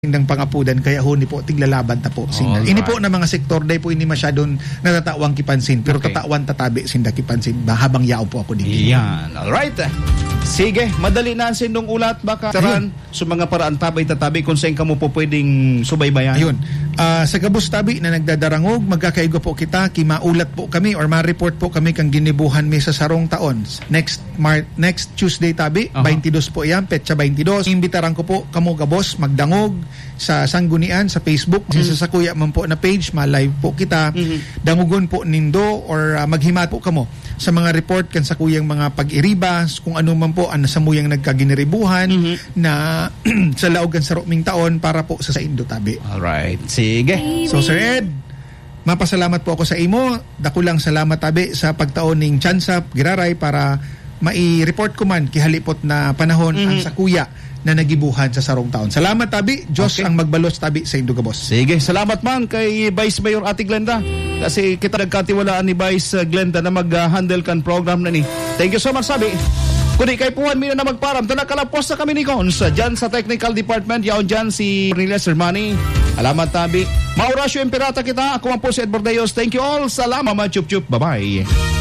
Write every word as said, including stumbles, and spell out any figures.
Nang pangapudan, kaya huni po, tiglalaban ta po sinda. Alright. Ini po na mga sektor, dai po ini masyadong natatawan kipansin, pero Okay. tatawan ta tabi sinda kipansin ba, habang yaon po ako digdi. Yan. Alright. Sige, madali na ang sindong ulat, baka Ayun. taran, sa mga paraan tabay tatabi kung saan kamo po pwedeng subaybayan. Ayun. Ah, sa gabos tabi na nagdadarangog, magkakaigwa po kita, ki maulat po kami or ma-report po kami kang ginibuhan mi sa sarong taon. Next Mar-, next Tuesday tabi, Aha. twenty-two po yan, petsa twenty-two. Imbitaran ko po kamo gabos, magdangog sa Sanggunian, sa Facebook, Mm. sa sakuya man po na page, ma-live po kita. Mhm. Dangogon po nindo or, ah, maghimat po kamo sa mga report kan sakuyang mga pag-iriba, kung ano man po ang samuyang nagkaginiribuhan Mhm. na sa laog kan saruming taon para po sa saindo tabi. Alright. Sige. So, Sir Ed, mapasalamat po ako sa imo. Dakulang salamat, tabi, sa pagtao ning tsansa, giraray, para mai-report ko man kihalipot na panahon ang Mhm. sakuya na nagibuhan sa sarong taon. Salamat, tabi. Diyos Okay. ang magbalos, tabi, sa indo gabos. Sige, salamat man kay Vice Mayor Ate Glenda. Kasi kita nagkatiwalaan ni Vice Glenda na mag-handle kan program na ni. Thank you so much, tabi. Kundi kay puhan mi na magparam, ta nakalapos na kami ni Cons. Diyan sa technical department, yaon diyan si Cornelia Sermani. Alamat, tabi. Maurasyo Imperata kita. Ako man po si Ed Bordeos. Thank you all. Salamat, mga chup-chup. Bye-bye.